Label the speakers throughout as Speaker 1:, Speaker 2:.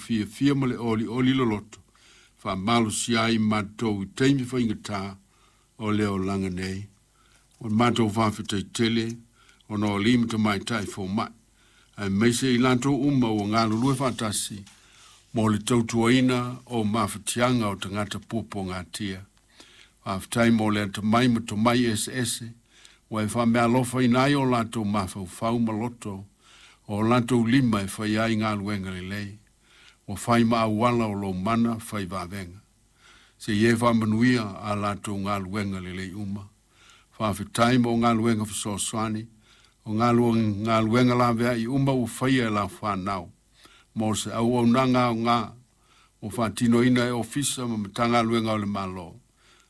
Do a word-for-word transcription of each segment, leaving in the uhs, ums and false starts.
Speaker 1: fiafia ma le olioli loloto, faamalosia ai matou i taimi faigata o le olaga nei. O le matou faafetai tele ona o alii ma tamaitai foma'i, aemaise i latou uma ua galulue faatasi mo le tautuaina o mafatiaga o tagata puapuagatia. Faafetai mo le atamai ma tomai eseese ua e faameaalofaina ai o latou mafaufau ma loto o latou lima e faia ai galuega lelei, ua fai ma auala o lou mana fai vavega. Seia e faamanuia a latou galuega lelei uma. Faafetai mo galuega fesoasoani, o galuega laveai uma ua faia e lau fanau, mo se auaunaga aoga, ua faatinoina e ofisa ma Matagaluega o le Malo,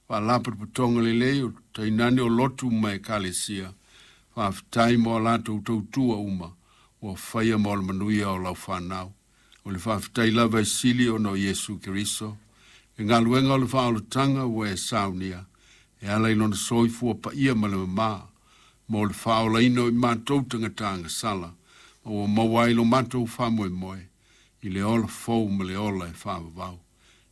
Speaker 1: Faalapotopotoga lelei o tainane o lotu ma ekalesia. Faafetai mo a latou tautua uma, ua faia mo le manuia o lau fanau. O le faafetai lava e sili ona o Iesu Keriso, le galuega o le faaolataga ua e saunia, e ala i lona soifua paia ma le mamā, mo le faaolaina o i matou tagata agasala, ma ua maua ai lo matou faamoemoe, i le ola fou ma le ola e faavavau.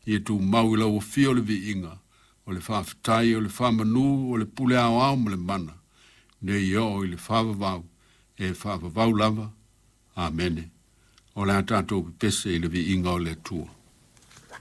Speaker 1: Ia tumau i lau afio le viiga, o le faafetai o le faamanu o le pule aoao ma le mana, nei oo i le faavavau, e faavavau lava. Amene. O le a tatou pepese i le viiga o le Atua.